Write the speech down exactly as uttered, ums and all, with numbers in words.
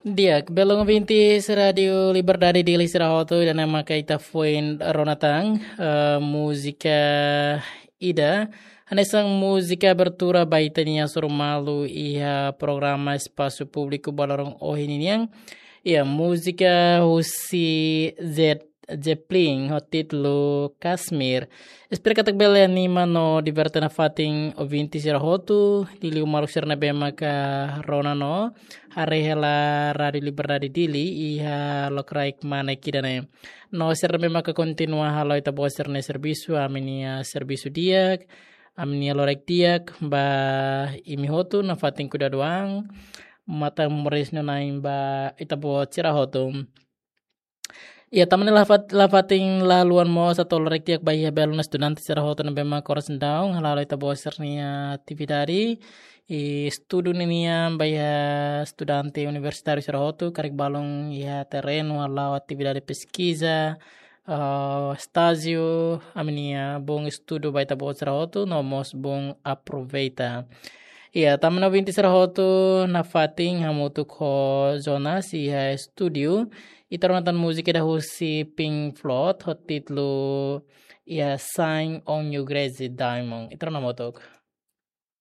Di'ak, belun ouvintes Rádiu Liberdade Dili sira hotu, ida-ne'e maka ita foin rona tan, eh, múzika ida. Hanesan múzika abertura ba ita-nia hasoru malu iha programa Espasu Públiku ba loron ohin nian. Iha múzika husi Led Zeppelin ho títulu Kashmir. Espera katak bele anima no diverte nafatin ouvinte sira hotu, liuliu maluk sira ne'ebé maka rona no haree hela Rádiu Liberdade Dili iha lokraik mane ida-ne'e. No sira ne'ebé maka kontinua halo ita-boot sira-nia servisu, ami-nia servisu di'ak, ami-nia loraik di'ak ba imi hotu, nafatin kuidadu an, matan moris no na'in ba ita-boot sira hotu. Iha, tama ne'e la fat-, la fatin la haluha mós atu loraik di'ak ba iha belun estudante sira hotu ne'ebé maka oras ne'e daudaun hala'o ita-boot sira-nia atividade. I estudu ninian ba iha estudante universitáriu sira hotu, karik balun iha terrenu hala'o atividade peskiza, ah, estájiu, ami-nia bom estudu ba ita-boot sira hotu, no mós bom aproveita. Iha, tama ne'e ouvinte sira hotu, nafatin hamutuk ho Jonas iha estúdiu, ita rona tan múzika ida husi Pink Floyd ho títulu iha Shine On You Crazy Diamond. Ita rona hamutuk.